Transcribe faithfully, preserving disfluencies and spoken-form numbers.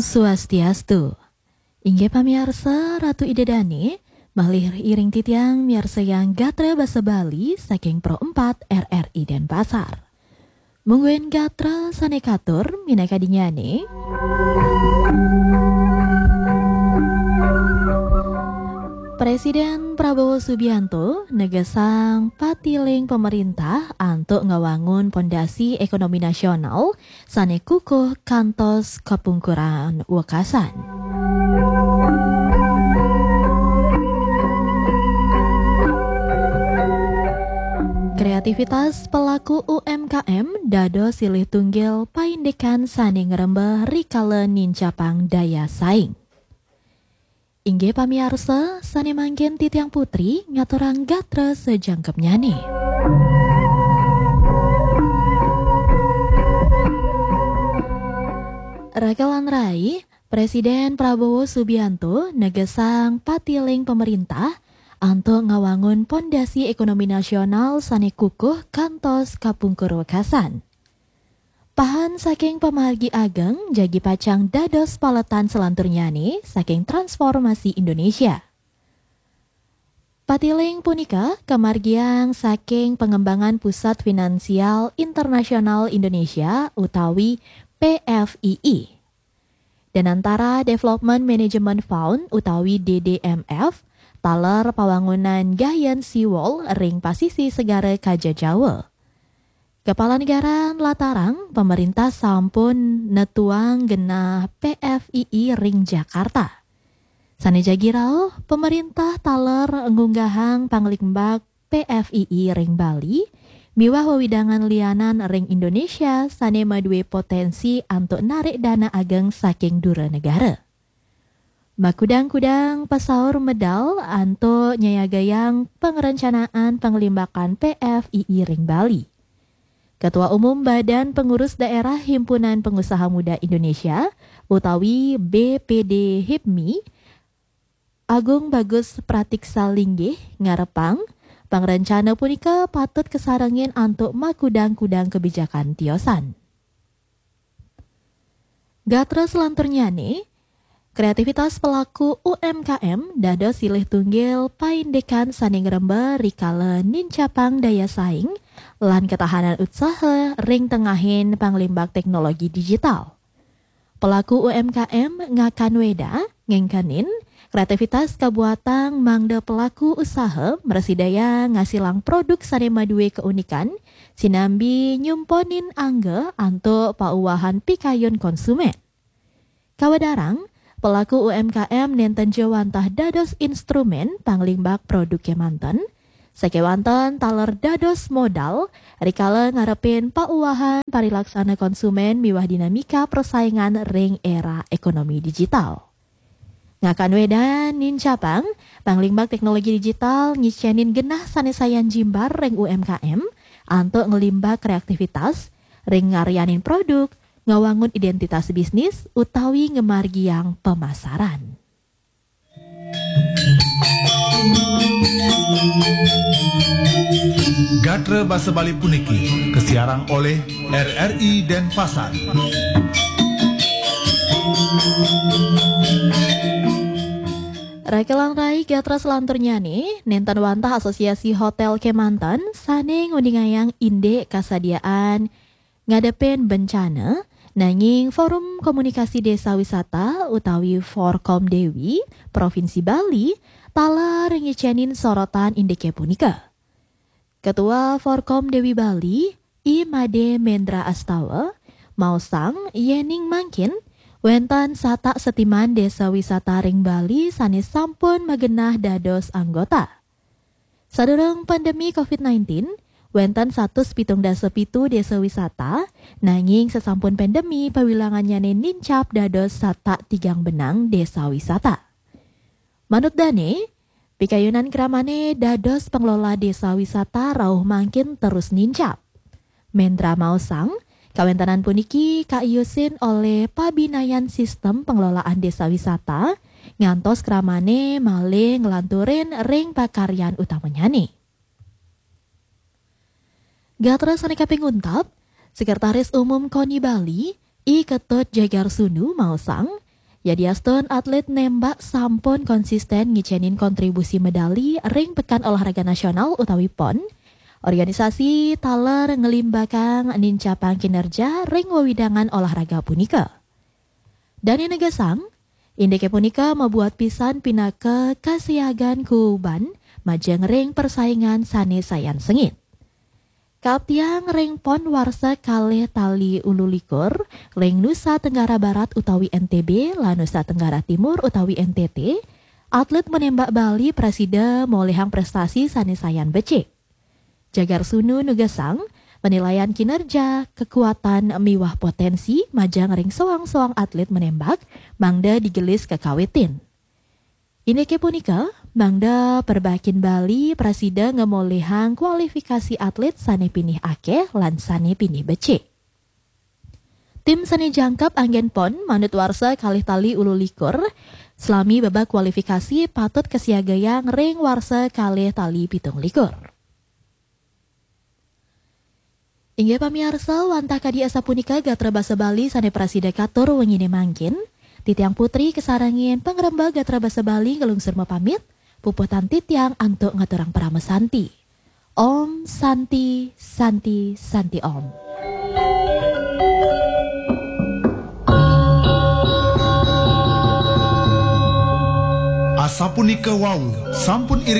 Swastiastu. Inggih pamiarsa, Ratu Ida Dane, malih iring titiang miarsayang gatra basa Bali saking Pro empat R R I Denpasar. Mungguing gatra sane katur minakadinyane. Presiden Prabowo Subianto negesang patiling pemerintah antuk ngawangun pondasi ekonomi nasional sane kukuh kantos kapungkuran wekasan. Kreativitas pelaku U M K M dados silih tunggil paindikan sane ngrembeh rikala nincapang daya saing. Inggih pamiarsa, sane mangkin titiang Putri ngaturang gatra sajangkepnyane. Raka lan rai, Presiden Prabowo Subianto negesang patiling pemerintah antuk ngawangun pondasi ekonomi nasional sane kukuh kantos kapungkur wekasan. Pahan saking pamargi ageng jagi pacang dados paletan selanturnyane saking transformasi Indonesia. Patiling punika kamargiang saking Pengembangan Pusat Finansial Internasional Indonesia utawi P F I I. Danantara Development Management Fund utawi D D M F, taler pawangunan gayan seawall ring pasisi Segara Kaja Jawa. Kepala Negara nlatarang, pemerintah sampun netuang genah P F I I ring Jakarta. Sane jagi rauh, pemerintah taler ngunggahang panglimbak P F I I ring Bali, miwah wewidangan lianan ring Indonesia sane madue potensi antuk narik dana ageng saking dura negara. Makudang-kudang pasaur medal antuk nyayagayang pangrencanaan panglimbakan P F I I ring Bali. Ketua Umum Badan Pengurus Daerah Himpunan Pengusaha Muda Indonesia utawi B P D hipmi, Agung Bagus Pratiksa linggih ngarepang, pangrencana punika patut kasarengin antuk makudang-kudang kebijakan tiosan. Gatra selanturnyane, kreativitas pelaku U M K M dados silih tunggil paindikan sane ngrembeh rikala nincapang daya saing lan ketahanan usaha ring tengahin panglimbak teknologi digital. Pelaku U M K M ngakan weda, ngengkenin, kreativitas kabuatang mangda pelaku usaha mrasidaya ngasilang produk sane madue keunikan, sinambi nyumponin angga antuk pauwahan pikayun konsumen. Kawedarang, pelaku U M K M nenten ja wantah dados instrumen panglimbak produk kemanten, sakewanten taler dados modal rikala ngarepin pauwahan parilaksana konsumen miwah dinamika persaingan ring era ekonomi digital. Ngakan wedan nincapang, panglimbak teknologi digital ngicenin genah sane sayan jimbar ring U M K M antuk nglimbak kreativitas ring ngaryanin produk, ngawangun identitas bisnis, utawi ngamargiang pemasaran. Gatra basa Bali puniki kasiarang oleh R R I Denpasar. Raka lan rai, gatra selanturnyane, nenten wantah Asosiasi Hotel kemanten sane nguningayang indik kasadiaan ngadepin bencana, nanging Forum Komunikasi Desa Wisata utawi Forkom Dewi Provinsi Bali taler ngicenin sorotan indike punika. Ketua Forkom Dewi Bali, I Made Mendra Astawa, maosang yening mangkin wenten satak setiman desa wisata ring Bali sane sampun magenah dados anggota. Sadurung pandemi covid nineteen, wenten satus pitung dasa pitu desa wisata, nanging sasampun pandemi pawilangannyane nincap dados satak tigang benang desa wisata. Manut dane, pikayunan kramane dados pengelola desa wisata rauh mangkin terus nincap. Mendra maosang, kawentenan puniki kaiusin oleh pabinayan sistem pengelolaan desa wisata, ngantos kramane malih nglanturin ring pakaryan utamanyane. Gatra sane kaping untat, Sekretaris Umum koni Bali, I Ketut Jagar Sunu maosang, Yadiastun atlet nembak sampun konsisten ngicenin kontribusi medali ring Pekan Olahraga Nasional utawi pon, organisasi taler ngelimbakang nincapang kinerja ring wewidangan olahraga punika. Dane negesang, indike punika mabuat pisan pinaka kasiagan kuuban majeng ring persaingan sane sayan sengit. Kaaptiang ring pon warsa kalih tali ulu likur, ring Nusa Tenggara Barat utawi N T B lan Nusa Tenggara Timur utawi N T T, atlet menembak Bali prasida molihang prestasi sane sayan becik. Jagar Sunu nugesang, penilaian kinerja, kekuatan miwah potensi majeng ring soang-soang atlet menembak mangda digelis kakawitin. Indike punika, mangda perbakin Bali prasida ngemolihang kualifikasi atlet sane pinih akeh lan sane pinih becik. Tim sane jangkep anggen pon manut warsa kalih tali ulu likur, selami babak kualifikasi patut kasiagayang ring warsa kalih tali pitung likur. Inggih pamiarsa, wantah kadi asapunika gatra basa Bali sane prasida katur wengine mangkin. Titiang Putri kasarengin pangrembag gatra basa Bali nglungsur mapamit, puputan titiang antuk ngaturang parama santi. Om Santi, Santi, Santi Om. Asapunika wau, sampun